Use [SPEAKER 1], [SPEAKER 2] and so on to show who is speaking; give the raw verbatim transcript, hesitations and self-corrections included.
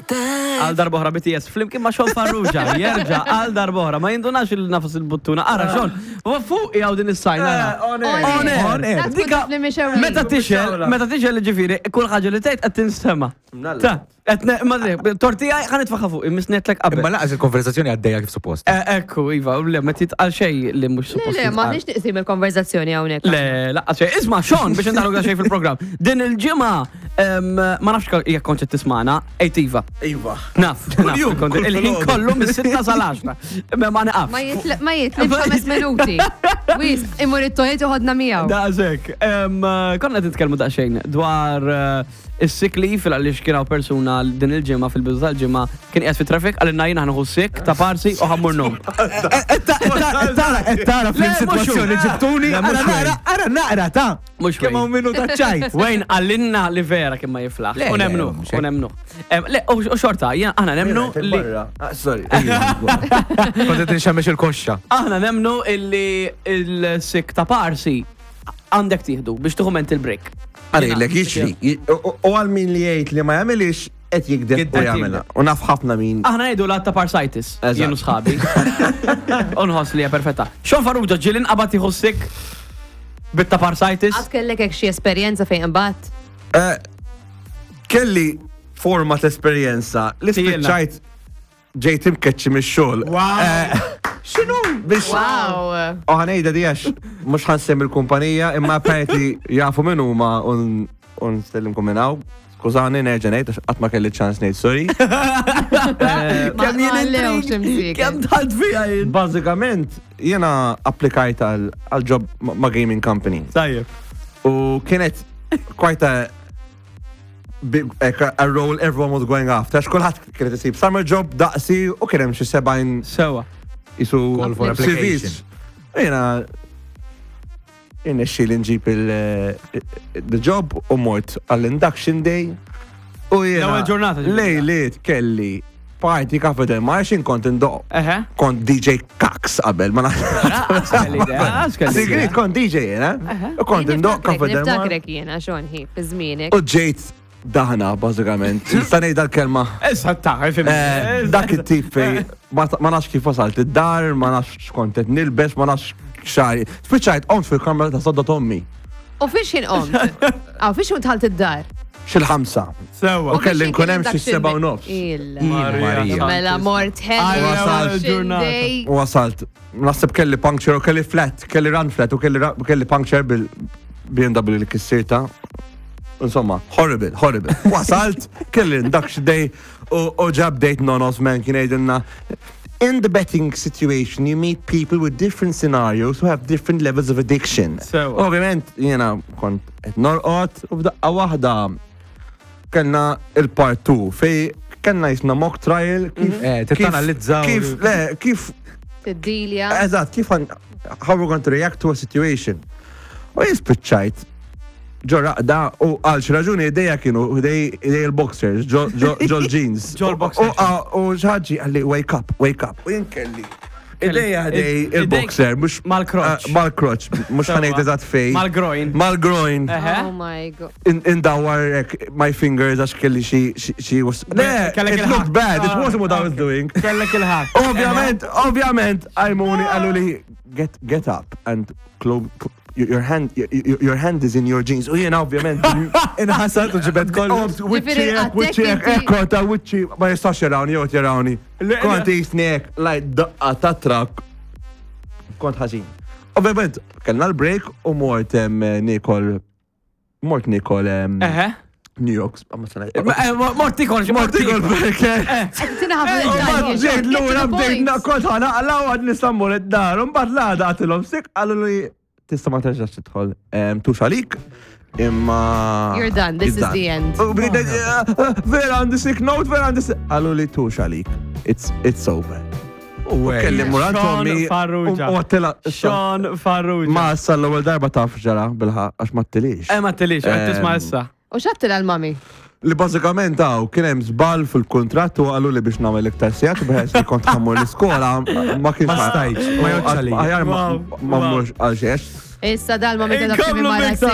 [SPEAKER 1] Għal darb'oħra B T S flimkien ma' Sean Farrugia, jerġa' għal darb'oħra, ma jindunax il-nafas il-buttuna. Ara, Sean, u fuq jgħaw din is-sajn. Ara.
[SPEAKER 2] On air.
[SPEAKER 1] On air.
[SPEAKER 2] On air.
[SPEAKER 1] Dika,
[SPEAKER 3] Li mhix ewwel.
[SPEAKER 1] meta tixgħel, meta tixgħel, ġifieri, kull ħaġa li tgħid qed tinstema'.
[SPEAKER 2] Mnalla.
[SPEAKER 1] Ta, qed ne- ma tortija ħa nitfagħha fuq, immisnetlek qabel.
[SPEAKER 4] Imma laqas il-konversazzjoni għaddejja kif suppost.
[SPEAKER 1] Eh, Ekku, iva, u le, ma titqal xejn li mhux
[SPEAKER 3] Le,
[SPEAKER 1] suppost
[SPEAKER 3] le, ma
[SPEAKER 1] jitqal.
[SPEAKER 3] nix niqsim il-konverzazzjoni hawnhekk.
[SPEAKER 1] Le, laqas xejn. Isma', Sean, biex ndaħlu xejn fil-programm. Din il-ġimgħa, em, ma nafx jekk kont qed tismana, ejt iva.
[SPEAKER 2] Iva.
[SPEAKER 1] Naf, naf,
[SPEAKER 2] Kuljum,
[SPEAKER 1] kont-
[SPEAKER 2] kull
[SPEAKER 1] il-ħin
[SPEAKER 2] filgħodu.
[SPEAKER 1] kollu mis-sitta sal-għaxra. Ma ma naqafx.
[SPEAKER 3] Ma jitlib ma jitlibx ħames minuti. Wis, imur it-toilet uħodna miegħu.
[SPEAKER 1] Daqshekk. Em, Konna qed nitkellmu daqsxejn dwar eh, is-sick leave, għaliex kien hawn persuna din il-ġimgħa, fil-bidu tal-ġimgħa, kien qiegħed fit-traffic, għalina jien ħa nieħu sick ta' parsi u ħa mmur ngħum.
[SPEAKER 4] Tara, tara
[SPEAKER 1] Le,
[SPEAKER 4] fil-situazzjoni
[SPEAKER 1] mhux hu.
[SPEAKER 4] ġibtuni.
[SPEAKER 1] Le,
[SPEAKER 4] Ara
[SPEAKER 1] mhux
[SPEAKER 4] naqra, ara naqra ta'
[SPEAKER 1] Mhux
[SPEAKER 4] kemm hawn
[SPEAKER 1] Wayne.
[SPEAKER 4] minuta ċajt.
[SPEAKER 1] Wayne għallinna li vera kien ma jiflaħ.
[SPEAKER 4] Le,
[SPEAKER 1] U
[SPEAKER 4] le,
[SPEAKER 1] nemnu,
[SPEAKER 4] mhux
[SPEAKER 1] u
[SPEAKER 4] hekk.
[SPEAKER 1] nemnu. Em, Le, u u xorta, jien- aħna nemnu li
[SPEAKER 2] Ah, sorry.
[SPEAKER 4] Kont qed inxemmex il-koxxa.
[SPEAKER 1] Aħna nemnu illi il-sick ta' parsi għandek tieħdu biex tieħu mental break.
[SPEAKER 2] Għalilek, jiġri. U għal min li jgħid li ma jagħmilix, qed jigdeb u
[SPEAKER 1] Qed
[SPEAKER 2] jagħmilha. U naf ħafna min.
[SPEAKER 1] Aħna ngħidu l ta' parsitis,
[SPEAKER 2] Eżatt.
[SPEAKER 1] jien u sħabi. U nħoss li hija perfetta. Sean Farrugia, ġieli nqabad jieħu sick bit-ta' parsitis?
[SPEAKER 3] Għad kellek hekk xi esperjenza fejn imbagħad?
[SPEAKER 2] Eh, Kelli forma ta' esperjenza li
[SPEAKER 1] Tielna.
[SPEAKER 2] spiċċajt ġejt imkeċċi mix-xogħol.
[SPEAKER 4] Wow.
[SPEAKER 2] X'inhu? Biex
[SPEAKER 3] Wow.
[SPEAKER 2] U ħa ngħidha di għax mhux ħa nsemmi l-kumpanija, imma apparently jafu min huma un un nsellimkom minn hawn. Skużani, nerġa' ngħid għax qatt ma kelli ċans ngħid sorry.
[SPEAKER 3] Ma
[SPEAKER 1] Kemm jien
[SPEAKER 3] ma lewx
[SPEAKER 1] intrig,
[SPEAKER 3] imsieken.
[SPEAKER 1] kemm dħalt fija jien.
[SPEAKER 2] Bażikament jiena applikajt għal għal job ma' ma' gaming company.
[SPEAKER 1] Tajjeb.
[SPEAKER 2] U kienet quite a big, like a, a role everyone was going after. Għax kulħadd kienet isib summer job daqsi u kien hemm xi sebgħin
[SPEAKER 1] Sewa.
[SPEAKER 2] isu
[SPEAKER 4] Call for application.
[SPEAKER 2] C Vs. U jiena irnexxieli nġib il the job u mort għall-induction day. U jiena
[SPEAKER 1] L-ewwel ġurnata ġifieri.
[SPEAKER 2] Lejliet kelli party Cafe Del Mar, xin kont indoq.
[SPEAKER 1] Eħe.
[SPEAKER 2] Kont D J Kax qabel, ma
[SPEAKER 1] Għas kelli idea, għas kelli
[SPEAKER 2] Sigrit
[SPEAKER 1] idea.
[SPEAKER 2] kont D J jiena. U kont indoq Cafe Del Mar.
[SPEAKER 3] Niftakrek jiena, Sean, hi, fi żmienek.
[SPEAKER 2] U ġejt daħna, bażikament. Nista' ngħid dal-kelma.
[SPEAKER 1] Issa ta' fim.
[SPEAKER 2] Eh, Dak it-tip fej, ma ma nafx kif wasalt id-dar, ma nafx x'kont qed nilbes, ma nafx xari. Spiċċajt qomt fil-kamra ta' sodda t'ommi.
[SPEAKER 3] U fiex jien qomt? Aw, fiex jien dħalt id-dar?
[SPEAKER 2] Xil-ħamsa.
[SPEAKER 1] Sewa.
[SPEAKER 2] U kelli nkun hemm xi seba' u nofs.
[SPEAKER 3] Il.
[SPEAKER 4] Marija.
[SPEAKER 3] Mela mort ħelu.
[SPEAKER 2] Wasalt.
[SPEAKER 1] ġurnata.
[SPEAKER 2] U wasalt, naħseb kelli puncture u kelli flat, kelli run flat u kelli, ra- kelli puncture bil-B M W li kissirta. Insomma, horrible, horrible. Wasalt, kelli induction day u u ġab date nonos man kien jgħidilna: "In the betting situation, you meet people with different scenarios who have different levels of addiction."
[SPEAKER 1] Sewa.
[SPEAKER 2] Ovvjament, jena kont qed norqod u f'daqqa waħda kellna il-part two fej kellna jisna mock trial kif
[SPEAKER 4] Eh,
[SPEAKER 2] kif-
[SPEAKER 4] tittanalizzaw
[SPEAKER 2] kif le kif
[SPEAKER 3] Tiddilja.
[SPEAKER 2] Eżatt, kif għan- how we're going to react to a situation. U jispiċċajt ġo raqda u għal xi raġuni idejja kienu idej idej il-boxers, ġo ġo- ġo l-jeans.
[SPEAKER 1] Ġo l-boxers.
[SPEAKER 2] U u xi ħadd qalli, "Wake up, wake up." U jien kelli idejja ħdej
[SPEAKER 1] Idejk
[SPEAKER 2] il-boxer, mhux
[SPEAKER 1] mal-crotch.
[SPEAKER 2] eh, Mal-crotch, mhux ħa ngħid eżatt fej.
[SPEAKER 1] Mal-groin.
[SPEAKER 2] Mal-groin.
[SPEAKER 1] Eħe.
[SPEAKER 3] Oh my God.
[SPEAKER 2] In- Indawar hekk my fingers għax kelli xi xi xi was. Le,
[SPEAKER 1] Kellek
[SPEAKER 2] it
[SPEAKER 1] il-ħak.
[SPEAKER 2] looked bad, it wasn't what I was doing.
[SPEAKER 1] Kellek il-ħak.
[SPEAKER 2] Ovvjament, ovvjament, qajmuni qallu li get get up and close your hand your, your hand is in your jeans." U jiena ovvjament
[SPEAKER 4] Inħasat u ġibed kollu.
[SPEAKER 2] Wiċċi hekk, wiċċi hekk,
[SPEAKER 3] inti-
[SPEAKER 2] ekko ta' wiċċi ma jistax jarawni, jew jarawni.
[SPEAKER 1] Le-
[SPEAKER 2] Kont jisni hekk, like daqqa ta' trak. Kont ħażin. Ovvjament, kellna l-break u mort em, nikol mort nikol em,
[SPEAKER 1] Eħe.
[SPEAKER 2] New York, ma sana-
[SPEAKER 1] Eh, Mort tikol,
[SPEAKER 2] Mort nikol burger.
[SPEAKER 3] Tina ħafna
[SPEAKER 2] Mbagħad ġejt lura bdejt kont ħa naqla u għad nista' mmur id-dar. Mbagħad l-għada għedtilhom sick, qalu li tista' ma terġax tidħol em, tux għalik. Imma
[SPEAKER 3] You're done, this
[SPEAKER 2] It's
[SPEAKER 3] is the end.
[SPEAKER 2] U bdejt, eh, eh, vera għandi sick note, vera għandi sick. Qalu li tux għalik. It's it's over. U kelli mmur għand
[SPEAKER 1] Sean
[SPEAKER 2] ommi
[SPEAKER 1] Farrugia.
[SPEAKER 2] u għedtilha
[SPEAKER 1] Sean Farrugia.
[SPEAKER 2] Ma issa l-ewwel darba taf ġara bilħa għax ma ttilix.
[SPEAKER 1] Eh, ma tilix, qed tisma'
[SPEAKER 2] Em,
[SPEAKER 1] issa.
[SPEAKER 3] U x'għedtilha l-mami?
[SPEAKER 2] Li bażikament għaw kien hemm żball fil-kuntratt u qalu li biex nagħmel iktar sigħat u bħes li kont ħa mmur l-iskola ma kienx
[SPEAKER 4] Ma stajtx, ma jgħodx għalija.
[SPEAKER 2] Aħjar ma
[SPEAKER 1] Wow,
[SPEAKER 2] ma
[SPEAKER 1] wow.
[SPEAKER 2] mmurx għal xiex.
[SPEAKER 3] Issa dal-mami ta'
[SPEAKER 1] Inkomplu
[SPEAKER 3] mara
[SPEAKER 1] biktar.